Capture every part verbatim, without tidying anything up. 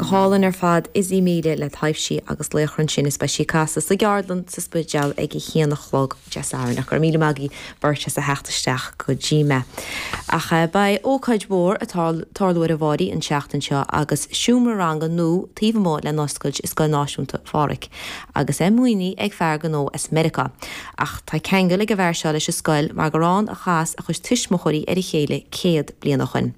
hálainn ar fad Izzy Míle le taibhsí agus laochra ansin is beidh sí ag casadh sa gceardlann sa Spidéal ag a haon a chlog Dé Sathairn ach míle maith beirt as a theacht isteach go dtí mé. Ach eh, beidh ócáid mhór ag tarlú ar an bhFairche an tseachtain seo agus seomra ranga nua taobh amuigh le n-oscailt i Scoil Náisiúnta Phádraig, agus é maoinithe ag fear gnó as Meiriceá. Ach tá ceangal ag an bhfear seo leis an scoil mar gur ann a chas a chuid tuismitheoirí ar a chéile céad bliain ó shin.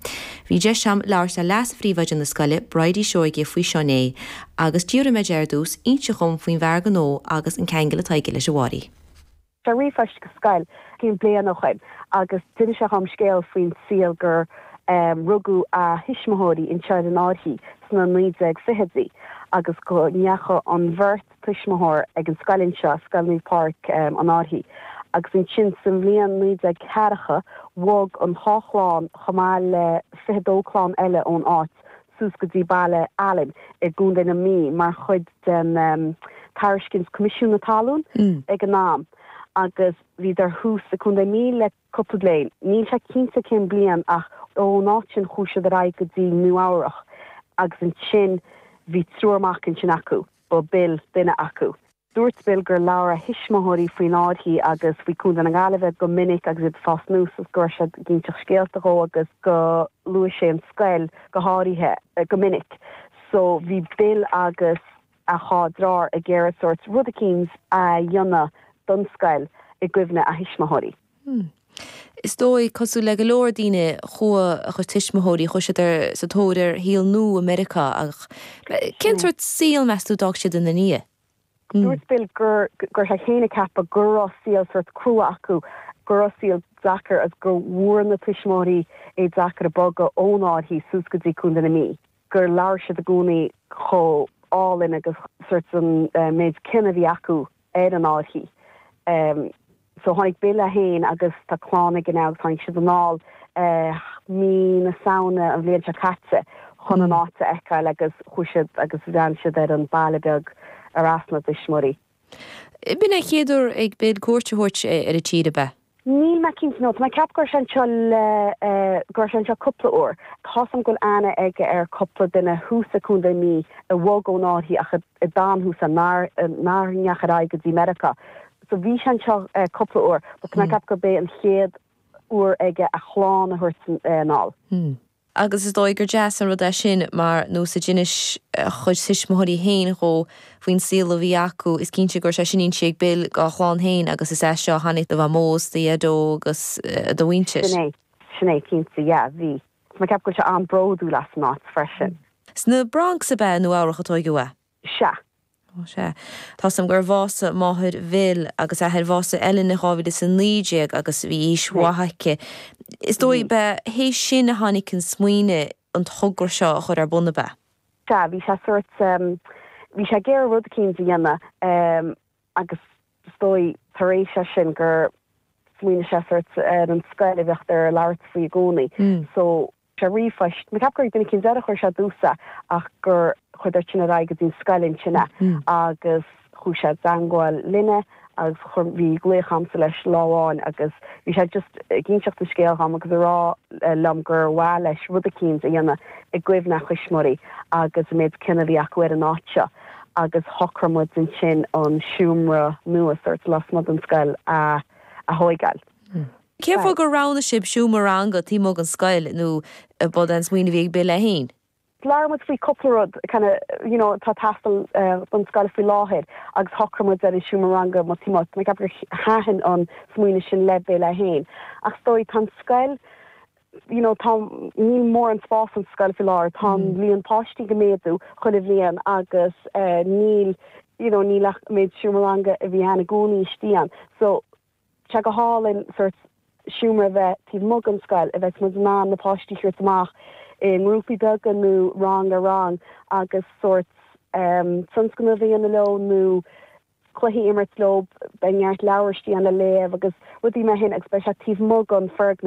Bhí deis agam labhairt le leas-phríomhoide na scoile Bridie Seoige faoi seo inné, agus d'iarr mé ar dtús inse dhom faoin bhfear gnó agus an ceangal atá aige leis an bhFairche. Tá ríomhphost go scoil cúpla bliain ó shin agus d'inis sé dhom scéal faoin saol gur um, rugadh a thuismitheoirí anseo ar an Fhairche sna naoi déag fichidí agus go ndeachaigh an bheirt tuismitheoir ag an scoil anseo Scoil Naomh Pádraig um, an Fhairche. agus ansin sa bhliain naoi déag ceathracha bhog an dá chlann chomh maith le fiche dó clann eile ón áit suas go dtí Baile Alain i gContae na Mí mar chuid den um, tairiscint Coimisiún na Talún mm. ag an am agus bhíodar thuas i gContae na Mí le cúpla bliain. Níl sé cinnte cén bliain ach ón áit sin chuaigh siad ar aghaidh go dtí Nua-Eabhrac agus ansin bhí triúr mac ansin acu, ba Bill duine acu. Dúirt Bill gur labhair a thuismitheoirí faoin Fhairche agus faoi Chontae na Gaillimhe go minic agus iad ag fás aníos agus go raibh siad ag inseacht scéalta dhó agus go luaigh sé an scoil go háirithe eh, go minic. So bhí Bill agus a dhá dheartháir ag iarraidh sórt rud eicínt a dhéanamh don scoil i gcuimhne a thuismitheoirí. Hmm. Is dóigh cosúil le go leor daoine chuaigh a chuid tuismitheoirí chuaigh siad ar sa tóir ar shaol nua i Meiriceá ach cén sórt saol meas tú a d'fhág siad ina ndiaidh. Hmm. Dúirt Bill gur gur sé féin a cheapadh go raibh saol sórt crua acu go raibh saol deacair agus go bhfuair na tuismitheoirí é deacair a bogadh ón Fhairche suas go dtí Contae na Mí. gur labhair siad i gcónaí chomh hálainn agus sórt an uh, méid cion a bhí acu ar an Fhairche. Um, so tháinig Bill é féin agus tá clann aige agus tháinig siad anall uh, mí na Samhna an bhliain seo caite chun an áit a fheiceáil agus chuaigh siad agus bhreathnaigh siad ar an baile beag ar as na tuismitheoirí. B'in an chéad uair ag Bill cuairt a thabhairt ar an tír ab ea. Níl mé cinnte nó Tá ceap gur anseo le gur anseo cúpla uair. Tá an gur aithne aige ar cúpla duine thuas i gContae na Mí a bhog ón Fhairche ach a d'fhan thuas nár nár ndeachaigh ar aghaidh go dtí Meiriceá. So bhí sé anseo cúpla uair, ba tá ceap gurb é an chéad uair aige a chlann a thabhairt anall. Hmm. Agus is dóigh gur deas an rud é sin mar nós a d'inis a chuid tuismitheoirí féin dhó faoin saol a bhí acu is cinnte gur sé sin inste ag Bill dá chlann féin agus is é seo tháinig do mhamó do dhaideo agus do mhuintir. Sin sin é cinnte yeah, bhí. Tá ceap go sé an-bhródúil as an áit freisin. Sna Bronx ab ea Nua-Eabhrac a tógadh é. Sea. Sé. Tá a fhios agam gur bhásaigh máthair Bhill agus athair bhásaigh Ellen dhá mhíle is a naoi déag agus bhí aois mhaith aici. Is dóigh be hé sin a tháinig an smaoineamh an togra seo a chur ar bun ab ea. Sea bhí sé sórt um, bhí sé ag iarraidh rud eicínt a dhéanamh um, agus is dóigh tar éis sé sin gur smaoinigh sé sórt ar an scoil a bheadh ar labhairt faoi i gcónaí. Mm. So sé ríomhphost Tá ceap gur duine cinn a chuir sé dúsa ach gur chuir sin ar aghaidh go dtí scoil ansin Mm. agus chuaigh sé i dteagmháil linne agus chuir bhí glaoch agamsa leis lá amháin agus bhí sé just ag inseacht an scéal dhom agus a rá eh, liom gur mhaith leis rud eicínt a dhéanamh i gcuimhne a thuismitheoirí agus an méid cion a bhí acu ar an áit seo agus shocraigh muid ansin an seomra nua sórt lasmuigh den scoil a a thógáil. Cé fáth gur roghnaigh sibh seomra ranga taobh amuigh den scoil nó b'é an smaoineamh a bhí ag Bill é féin? Labhair muid faoi cúpla rud kind of, you know, tá teastáil uh, don scoil faoi láthair agus shocraigh muid ar an seomra ranga má tí me gur thaitin an smaoineamh sin le Bill é féin. Ach dóigh tá scoil you know, tá níl mórán spás an scoil faoi láthair tá mm. líon páistí ag méadú chuile bhliain agus uh, níl you know, níl ach méid seomra ranga a bhí ann i gcónaí istigh ann. So sé go hálainn sórt seomra bheith taobh amuigh den scoil a bheith muid ná na páistí chuir amach i ngrúpaí beaga nó rang ar rang agus sórt um, tionscnamh a dhéanamh leo nó cluichí imirt leo beidh neart leabhair istigh ann le léamh agus rudaí mar sin agus beidh sé taobh amuigh den fhoirgneamh